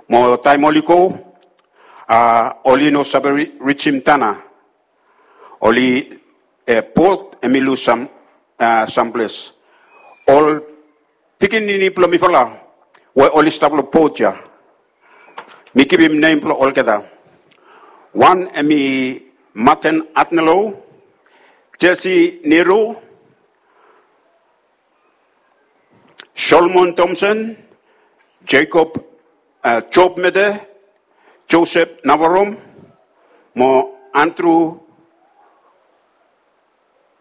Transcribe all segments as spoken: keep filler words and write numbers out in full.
Mo taem oli go, a, oli no save ri-, rijim Tanna. Oli, e, bot hemi lus sam, a, samples. Ol pikinini blong mifala we oli stap long bot ya. Mi givim nem blong olgeta. Wan hemi Martin Adnelo, Jesse Nero, Solomon Thompson, Jacob, a, Job Mete, Joseph Navarom, mo Andrew,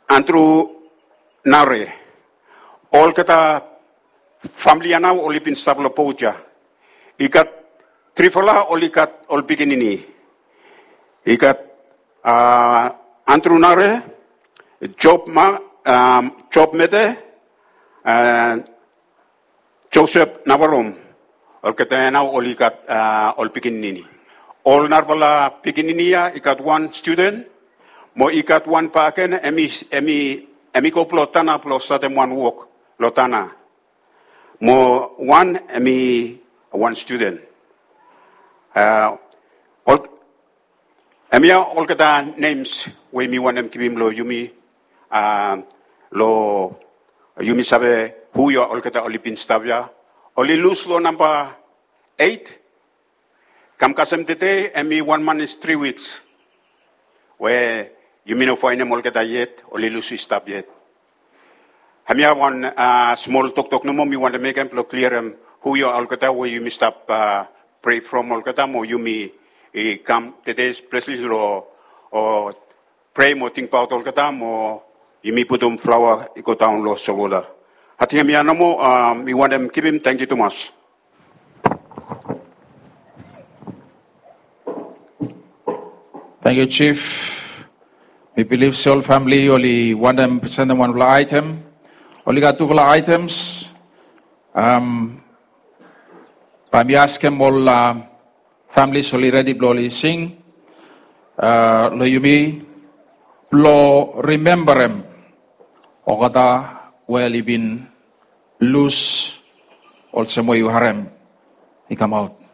Andrew Nare. Olgeta famili ya nao oli bin stap long bot ya. I gat trifala oli gat ol pikinini. I gat, a, Andrew Nare, Job Ma-, a, Job Mete, a, Joseph Navarom. Olgeta ya nao oli gat, a, ol pikinini. Ol narafala pikinini ya i gat wan studen, mo i gat wan bakegen, hemi, hemi, hemi go blong Tanna blong statem wan wok long Tanna. Mo wan hemi wan studen. A, ol-, Hemia olgeta nems we mi wantem givim long yumi, a, long yumi save hu ya olgeta oli bin stap ya. Oli lus long namba eit. Kam kasem tede, hemi wan manis tri wiks we yumi no faenem olgeta yet, oli lus i stap yet. Hemia wan, a, smol toktok nomo mi wantem mekem blong kliarem hu ya olgeta we yumi stap, a, prea from olgeta mo yumi i kam tede speseli long, o, prea mo tingbaot olgeta mo yumi putum flaoa i go daon long solwota. Ating hemia nomo, a, mi wantem givim, tangkiu tumas. Tangkiu, Jif. Mi bilif se ol famili oli wantem presentem wanfala aetem. Oli gat tufala aetems. Am, bae mi askem ol, a, famili oli redi blong oli sing, a, long yumi blong rimembarem olgeta we oli bin lus olsem we yu harem i kamaot.